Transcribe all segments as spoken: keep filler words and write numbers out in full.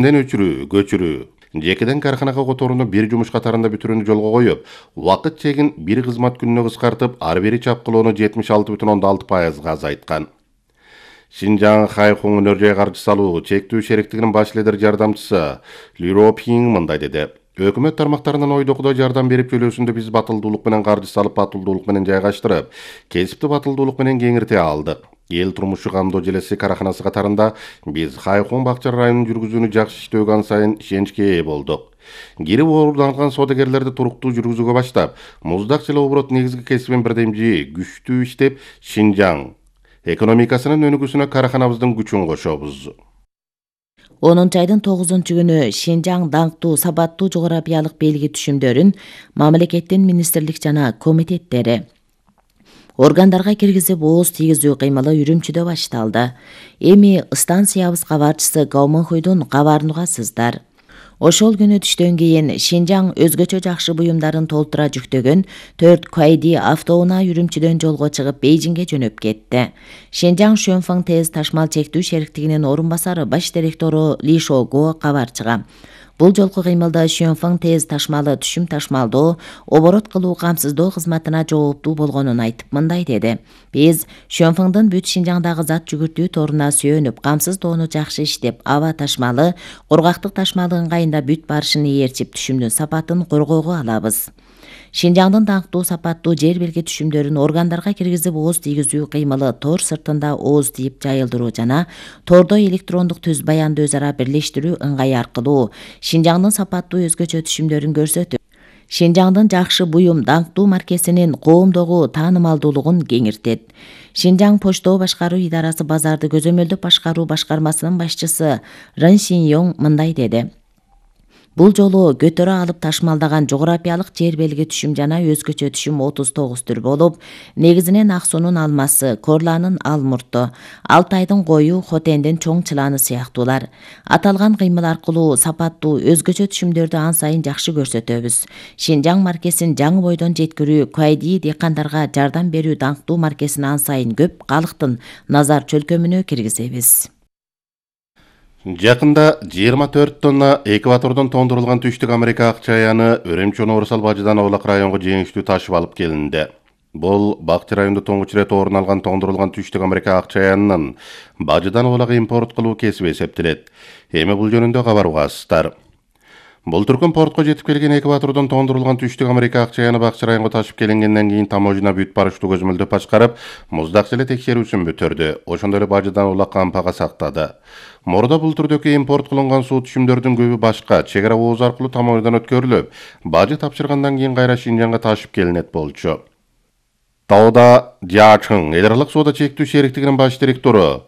өчүрүү, көчүрүү, жекеден карханага которууну бир жумуш катарында бүтүрүүнү жолго коюп, убакыт чегин бир кызмат күнүнө кыскартып, ар бири чапкылоону жетимиш алты бүтүн ондон алты пайызга азайткан. Шинжаң Хайхун өнөр жай каржы салуу чектүү шериктигинин баш лидер жардамчысы Лиро Пинг мындай деди. Өкмөт тармактарынын ойдокудой жардам берип төлөөсүндө биз батылдуулук менен каржы салып, батылдуулук менен жайгаштырып, кесипти батылдуулук менен кеңирте алдык. Эл турмушу камдоо желеси караханасы катарында биз Хайхун бакча районун жүргүзүүнү жакшы иштөөгө ан сайын ишеничке ээ болдук. Кирип ооруланган соодагерлерди туруктуу жүргүзүүгө баштап, муздак жана оборот негизги кесибин бирдемжи күчтүү иштеп, Шинжаң экономикасынын өнүгүүсүнө караханабыздын күчүн кошобуз. онунчу айдын тогузунчу күнү Шинжаң даңктуу сапаттуу жогорапиялык белги түшүмдөрүн мамлекеттин министрлик жана комитеттери органдарга киргизип ооз тийгизүү кыймылы Үрүмчүдө башталды. Эми станциябыз кабарчысы Гауманхуйдун кабарын угасыздар. Ошол күнү түштөн кийин Шинжаң өзгөчө жакшы буюмдарын толтура жүктөгөн төрт Куайди автоунаа Үрүмчүдөн жолго чыгып Бейжиңге жөнөп кетти. Шинжаң Шөнфаң ТЭЗ ташмал чектүү шериктигинин орун басары баш директору Ли Шого кабарчыга бул жолку кыймылда Шөнфаң ТЭЗ ташмалы түшүм ташмалдоо, оборот кылуу камсыздоо кызматына жооптуу болгонун айтып мындай деди. Биз Шөнфаңдын бүт Шинжаңдагы зат жүгүртүү торуна сүйөнүп, камсыздоону жакшы иштеп, аба ташмалы, кургактык ташмалы ыңгайында бүт барышын ээрчип, түшүмдүн сапатын коргоого алабыз. Шинжаңдын даңктуу сапаттуу жер белги түшүмдөрүн органдарга киргизип ооз тийгизүү кыймылы тор сыртында ооз тийип жайылдыруу жана тордо электрондук түз баянды өз ара бирлештирүү ыңгайы аркылуу Шинжаңдын сапаттуу өзгөчө түшүмдөрүн көрсөтүп, Шинжаңдын жакшы буюм даңктуу маркесинин коомдогу таанымалдуулугун кеңиртет. Шинжаң почтоо башкаруу идарасы базарды көзөмөлдөп башкаруу башкармасынын башчысы Рын Синьёң мындай деди. Бул жолу көтөрө алып ташмалдаган жогорапиялык жер белги түшүм жана өзгөчө түшүм отуз тогуз түр болуп, негизинен ак суунун алмасы, корланын алмурту, Алтайдын кою, Хотендин чоң чыланы сыяктуулар. Аталган кыймыл аркылуу сапаттуу өзгөчө түшүмдөрдү ан сайын жакшы көрсөтөбүз. Шинжаң маркесин жаңы бойдон жеткирүү, Куайди дыйкандарга жардам берүү даңктуу маркесин ан сайын көп калктын назар чөлкөмүнө киргизебиз. Жакында жыйырма төрт тонна экватордон тондурулган түштүк Америка ак чаяны Өрөмчү Орусал Бажыдан Оолак районго жеңиштүү ташып алып келинди. Бул Бакчы районунда тоңуч ирет орун алган тондурулган түштүк Америка ак чаянынын Бажыдан Оолак импорт кылуу кесиби эсептелет. Эми бул жөнүндө кабар угасыздар. Бул түркүн портко жетип келген экватордон тондурулган түштүк Америка ак чаяны Бакчы районго ташып келингенден кийин таможня бүт барыштуу көзөмөлдөп башкарып, муздак желе текшерүүсүн бүтүрдү. Ошондой эле Бажыдан Оолак кампага сактады. Мурда бул түрдөгү импорт кылынган суу түшүмдөрдүн көбү башка чек ара ооз аркылуу таможнядан өткөрүлүп, Бажы тапшыргандан кийин кайра Шинжаңга ташып келинет болчу. Тауда Жачың эл аралык соода чектүү шериктигинин баш директору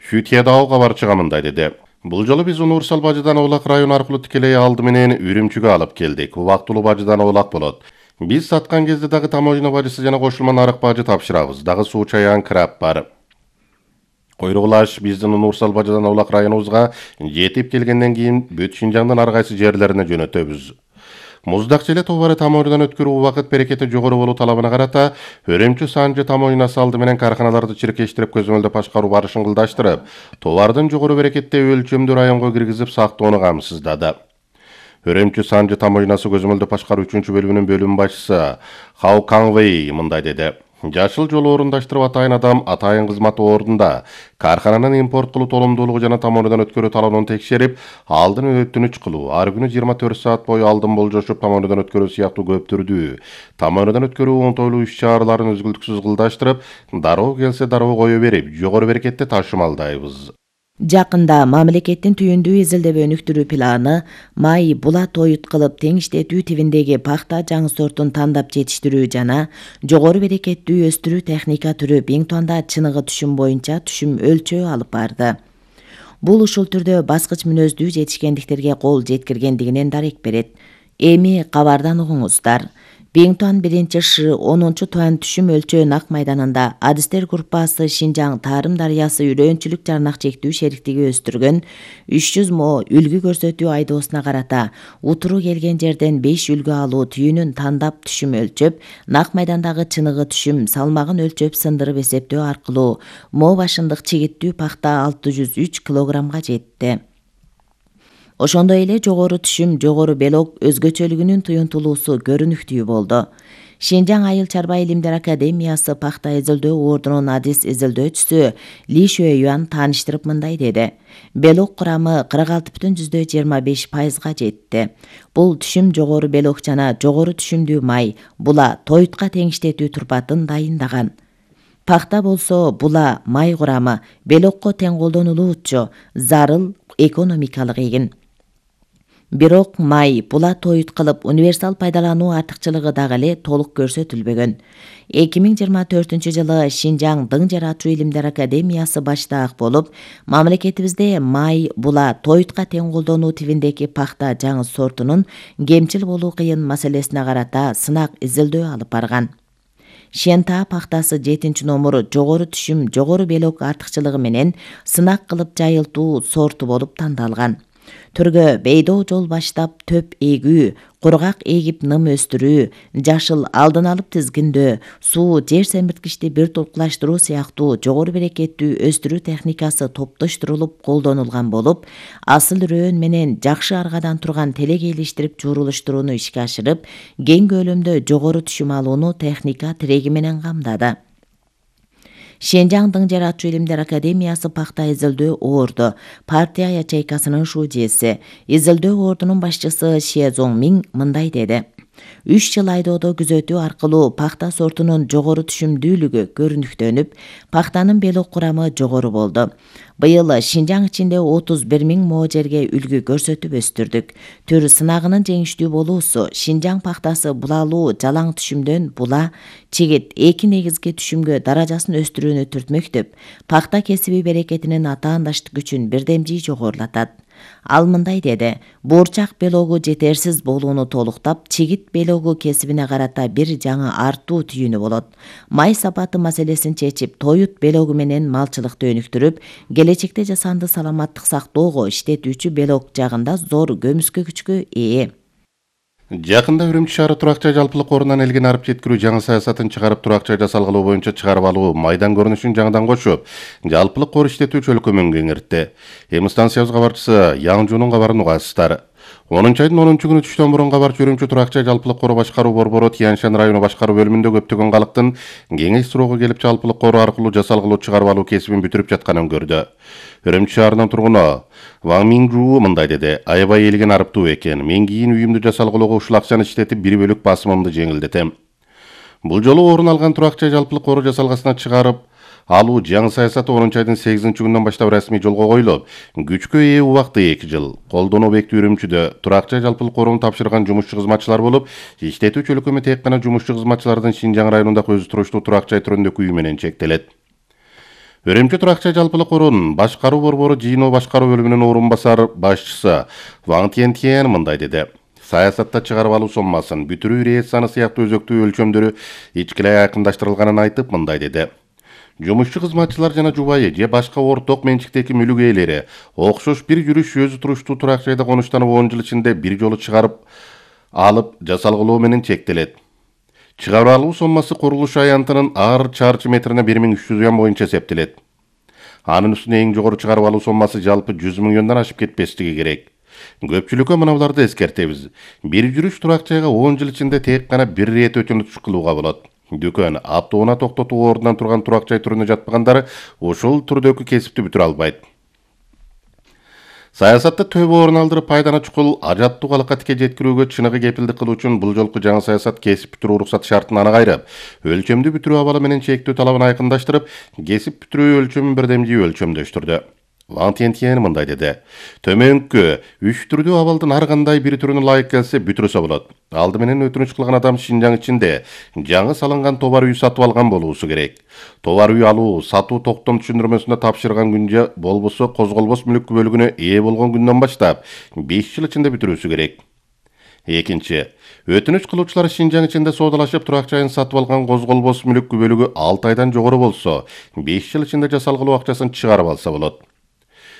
Шүтьедао кабарчыга мындай деди. Бул жолу биз Орусал Бажыдан Оолак район аркылуу тикелей алды менен Үрүмчүгө алып келдик. Убактылуу Бажыдан Оолак болот. Биз саткан кезде дагы таможня бажысы жана кошулма нарык бажы тапшырабыз. Дагы суу чаян краб бар. Койругулаш биздин Орусал Бажыдан Оолак районубузга жетип келгенден кийин бүт Шинжаңдын ар кайсы жерлерине жөнөтөбүз. Муздак желе товары таможнядан өткөрүү убакыт берекети жогору болуу талабына карата Өрөмчү Санжы таможнясы алды менен карханаларды чиркештирип көзөмөлдөп башкаруу барышын кылдаштырып, товардын жогору берекеттеги өлчөмдүү районго киргизип сактоону камсыздады. Өрөмчү Санжы таможнясы көзөмөлдөп башкаруу үчүнчү бөлүмүнүн бөлүм башчысы Хау Каңвей мындай деди. Жашыл жолу орундаштырып атайын адам атайын кызматы ордунда кархананын импорт кылуу толомдуулугу жана таможнядан өткөрүү талабын текшерип, алдын өтүнүч кылуу, ар күнү жыйырма төрт саат бою алдын болжошуп таможнядан өткөрүү сыяктуу көп түрдүү таможнядан өткөрүү оңтойлуу иш-чараларын үзгүлтүксүз кылдаштырып, дароо келсе дароо кое берип, жогору берекетте ташымалдайбыз. Жакында мамлекеттин түйүндүү изилдөө өнүктүрүү планы май булат оют кылып тең иштетүү тибиндеги пахта жаңы сортун тандап жетиштирүү жана жогору берекеттүү өстүрүү техника түрү Бингтонда чыныгы түшүм боюнча түшүм өлчөө алып барды. Бул ушул түрдө баскыч мүнөздүү жетишкендиктерге кол жеткиргендигинен дарек берет. Эми кабардан угуңуздар. Бингтон биринчи Ш онунчу туан түшүм өлчөө нак майданында адистер группасы Шинжаң Тарым дарыясы үрөөнчүлүк жарнак чектүү шериктиги өстүргөн үч жүз мо үлгү көрсөтүү айдоосуна карата утуру келген жерден беш үлгү алуу түйүнүн тандап түшүм өлчөп, нак майдандагы чыныгы түшүм салмагын өлчөп сындырып эсептөө аркылуу мо башындык чигиттүү пахта алты жүз үч килограммга жетти. Ошондой эле жогору түшүм, жогору белок өзгөчөлүгүнүн туюнтулуусу көрүнүктүү болду. Шинжаң айыл чарба илимдер академиясы пахта изилдөө ордунун адис изилдөөчүсү Ли Шуэюан тааныштырып мындай деди. Белок курамы кырк алты бүтүн жүздөй жыйырма беш пайызга жетти. Бул түшүм жогору белок жана жогору түшүмдүү май, була тоютка теңиштетүү турпатын дайындаган. Пахта болсо була май курамы белокко тең колдонулуучу, зарыл экономикалык эгин. Бирок май була тоют кылып универсал пайдалануу артыкчылыгы дагы эле толук көрсөтүлбөгөн. эки миң жыйырма төртүнчү жылы Шинжаң дың жаратуу илимдер академиясы баштаак болуп, мамлекетибизде май була тоютка тең колдонуу тибиндеги пахта жаңы сортунун кемчил болуу кыйын маселесине карата сынак изилдөө алып барган. Шента пахтасы жетинчи номер жогору түшүм, жогору белок артыкчылыгы менен сынак кылып жайылтуу сорту болуп тандалган. Түргө бейдоо жол баштап төп эгүү, кургак эгип ным өстүрүү, жашыл алдын алып тизгиндөө, суу, жер семирткичти бир толкулаштыруу сыяктуу жогору берекеттүү өстүрүү техникасы топтоштурулуп колдонулган болуп, асыл рөөн менен жакшы аргадан турган телек элиштирип жуурулуштурууну ишке ашырып, кең көлөмдө жогору түшүм алууну техника тиреги менен камдады. Шинжаң дың жаратуу илимдер академиясы пахта изилдөө орду, партия ячейкасынын шуудиеси, изилдөө ордунун башчысы Ше Зоңмиң мындай деди. Үч жыл айдоодо күзөтүү аркылуу пахта сортунун жогору түшүмдүүлүгү көрүнүктөнүп, пахтанын белок курамы жогору болду. Быйыл Шинжаң ичинде отуз бир миң мо жерге үлгү көрсөтүп өстүрдүк. Түр сынагынын жеңиштүү болуусу Шинжаң пахтасы булалуу жалаң түшүмдөн була, чигит эки негизги түшүмгө даражасын өстүрүүнү түртмөктөп, пахта кесиби берекетинин атаандаштык күчүн бирдемжий жогорулатат. Ал мындай деди. Буурчак белогу жетерсиз болууну толуктап, чигит белогу кесибине карата бир жаңы артуу түйүнү болот. Май сапаты маселесин чечип, тоют белогу менен малчылыкты өнүктүрүп, келечекте жасанды саламаттык сактоого иштетүүчү белок жагында зор көмүскө күчкө ээ. Жакында Үрүмчү шаары турак жай жалпылык корунан элген арып жеткирүү жаңы саясатын чыгарып турак жай жасалгылоо боюнча чыгарып алуу майдан көрүнүшүн жаңыдан кошуп, жалпылык кор иштетүү чөлкөмүн кеңиртти. Эми станциябыз кабарчысы Яңжуунун кабарын угасыздар. онунчу айдын онунчу күнү түштөн мурун кабарчы Үрүмчү турак жай жалпылык кору башкаруу борбору Тянь-Шань району башкаруу бөлүмүндө көптөгөн калктын кеңеш суроого келип жалпылык кору аркылуу жасалгылоо чыгарып алуу кесибин бүтүрүп жатканын көрдү. Үрүмчү шаарынын тургуну Ваң Минжуу мындай деди. Аябай элген арыптуу экен. Мен кийин үйүмдү жасалгылоого ушул акчаны иштетип бир бөлүк басымымды жеңилдетем. Бул жолу орун алган турак жай жалпылык кору жасалгасына чыгарып алуу жаңы саясаты онунчу айдын сегизинчи күнүнөн баштап расмий жолго коюлуп, күчкө ээ убакты эки жыл. Колдонуу объекти Үрүмчүдө турак жай жалпылык коруну тапшырган жумушчу кызматчылар болуп, иштетүү чөлкөмү тек гана жумушчу кызматчылардын Шинжаң районундагы өзү туруштуу турак жай түрүндөгү үйү менен чектелет. Үрүмчү турак жай жалпылык корунун башкаруу борбору жыйыноо башкаруу бөлүмүнүн орун басар башчысы Ваң Тянь мындай деди. Саясатта чыгарып алуу соммасын, бүтүрүү ирет саны сыяктуу өзөктүү өлчөмдөрү ичкилей айкындаштырылганын айтып мындай деди. Жумушчу кызматчылар жана жубайы же башка орток менчиктеги мүлүк ээлери окшош бир жүрүш өзү туруштуу турак жайда конуштанып он жыл ичинде бир жолу чыгарып алып жасалгылоо менен чектелет. Чыгарып алуу соммасы курулуш аянтынын ар чарчы метрине бир миң үч жүз юан боюнча эсептелет. Анын үстүнө эң жогору чыгарып алуу соммасы жалпы жүз миллиондон ашып кетпестиги керек. Көпчүлүккө мыналарды эскертебиз. Бир жүрүш турак жайга он жыл ичинде тек гана бир рет өтүнүч кылууга болот. Дүкөн, автоунаа токтотуу ордунан турган турак жай түрүнө жатпагандары ушул түрдөгү кесипти бүтүрө албайт. Саясатта төбө орун алдырып пайданы чукул ажаттуу калыкка тике жеткирүүгө чыныгы кепилдик кылуу үчүн бул жолку жаңы саясат кесип бүтүрүү уруксат шартын аны кайрып, өлчөмдү бүтүрүү абалы менен чектөө талабын айкындаштырып, кесип бүтүрүү өлчөмүн бирдемжий өлчөмдөштүрдү. Ваң Тянь мындай деди. Төмөнкү үч түрдүү абалдын ар кандай бир түрүнө ылайык келсе бүтүрүсө болот. Алды менен өтүнүч кылган адам Шинжаң ичинде жаңы салынган товар үй сатып алган болуусу керек. Товар үй алуу, сатуу токтом түшүндүрмөсүндө тапшырган күнчө болбосо козголбос мүлүк бөлүгүнө ээ болгон күндөн баштап беш жыл ичинде бүтүрүүсү керек. Экинчи, өтүнүч кылуучулар Шинжаң ичинде соодалашып турак жайын сатып алган козголбос мүлүк бөлүгү алты айдан жогору болсо, беш жыл ичинде жасалгылоо акчасын чыгарып алса болот.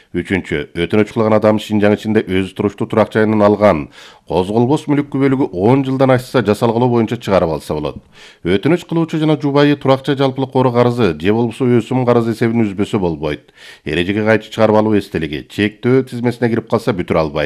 Үчүнчү, өтүнүч кылган адам Шинжаң ичинде өзү туруштуу турак жайынан алган козголбос мүлүк бөлүгү он жылдан ашса жасалгылоо боюнча чыгарып алса болот. Өтүнүч кылуучу жана жубайы турак жай жалпылык кору карызы же болбосо өсүм карызы эсебин үзбөсө болбойт. Эрежеге кайчы чыгарып алуу эстелиги чектөө тизмесине кирип калса бүтүрө албайт.